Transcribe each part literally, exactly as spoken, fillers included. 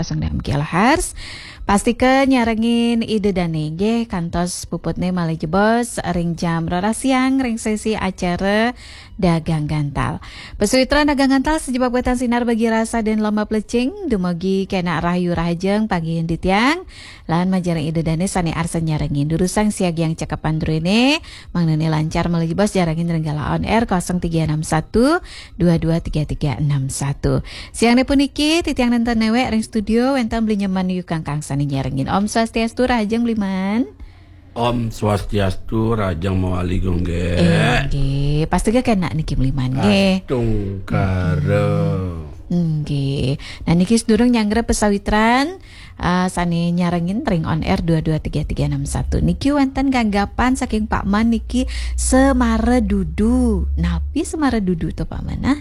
Kosong enam kilohertz. Pastika nyarengin Ida Dane nggih kantos puputne malih jebos ring jam roras siang ring sesi acara Dagang Gantal. Pasawitran Dagang Gantal sajebab wetan sinar bagi rasa dan lomba plecing, dumugi kenak rahayu rahajeng panggihin titiang, lan majeng ring Ida Dane sane arsa nyarengin. Durusang siagiang cakepan druene, mangdane lancar malih jebos nyarengin ring galah on air kosong tiga enam satu dua dua tiga tiga enam satu. Siangne puniki titiang nenten newek ring studio wenten Beli Nyoman Yukangkang sane nyarengin. Om Swastiastu, rahajeng Beli Man. Om Swastiastu, rahajeng mawali Gung Gek. Inggih, pastika kenak niki Beli Man nggih. Astungkara. Inggih. Nah, niki sedurung nyanggra pasawitran, ah, sane nyarengin ring on air dua dua tiga tiga enam satu. Niki wenten ganggapan saking Pak Man niki, Semara Dudu. Napi Semara Dudu to, Pak Man, ah?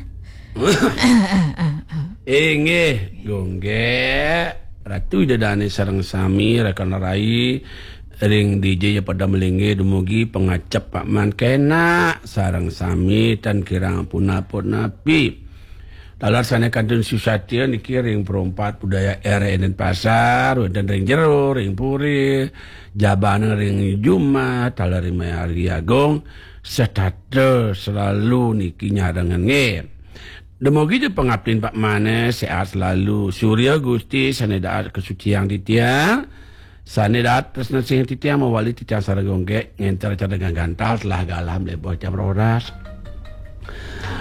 Inggih, Gung Gek, Ratu Ida Dane sareng sami, rekan rai ring D J ya pada malinggih, dumugi pangacep Pak Man kenak sareng sami tan kirang pun-pun napi. Taler sane kantun susatia niki ring Pro empat Budaya R N N Pasar, wenten ring jero, ring puri, jabana ring jumah, taler ring Mayari Agung, setata selalu niki nyarengin nggih. Dumugi ja pangaptin Pak Man sehat selalu. Surya Gusti sane daat kasuciang titiang, sane daat tresna sing titiang mawali titiang sareng Gung Gek ngenter acara Dagang Gantal telah galah mlebur jam roras.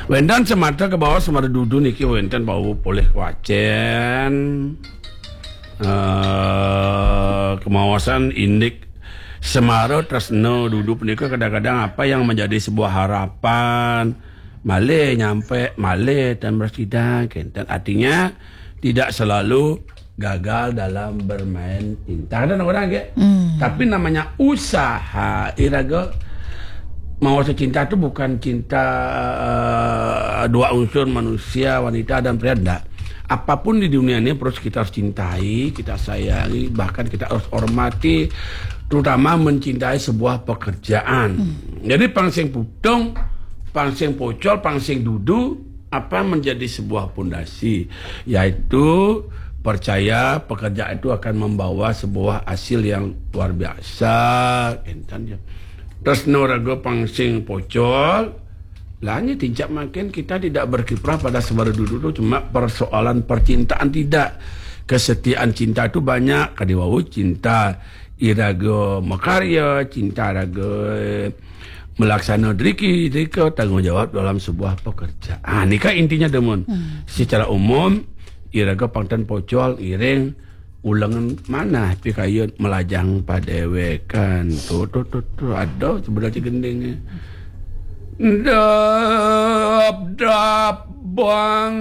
Wenten semata kebaos Semara Dudu niki wenten bau polih kawacen. Eh, kemaosan indik Semara Tresna Dudu punika kadang-kadang apa yang menjadi sebuah harapan, malih nyampe, malih tan prasida, kenten. Artinya, tidak selalu gagal dalam bermain cinta. Ada orang, nggih? Hmm. Tapi namanya usaha, iraga maosa cinta itu bukan cinta, eh, dua unsur, manusia, wanita, dan pria, enggak. Apapun di dunia ini terus kita harus cintai, kita sayangi, bahkan kita harus hormati, terutama mencintai sebuah pekerjaan. Hmm. Jadi pang sing puteng, pang sing pocol, pang sing dudu, apa menjadi sebuah pondasi, yaitu percaya pekerjaan itu akan membawa sebuah hasil yang luar biasa, kenten ya. Tresna raga pang sing pocol, lah nya tincap makin kita tidak berkiprah pada Semara Dudu itu cuma persoalan percintaan, tidak. Kesetiaan cinta itu banyak, kadi wau cinta iraga makarya, cinta raga melaksana driki, drika tanggung jawab dalam sebuah pekerjaan. Nika intinya demun. Hmm. Secara umum, iraga pang ten pocol ngiring ulengan manah pikayun melajang padewekan. Tuh, tuh, tuh, tuh. Aduh, sebenarnya gendingnya. Dap, dap, bang.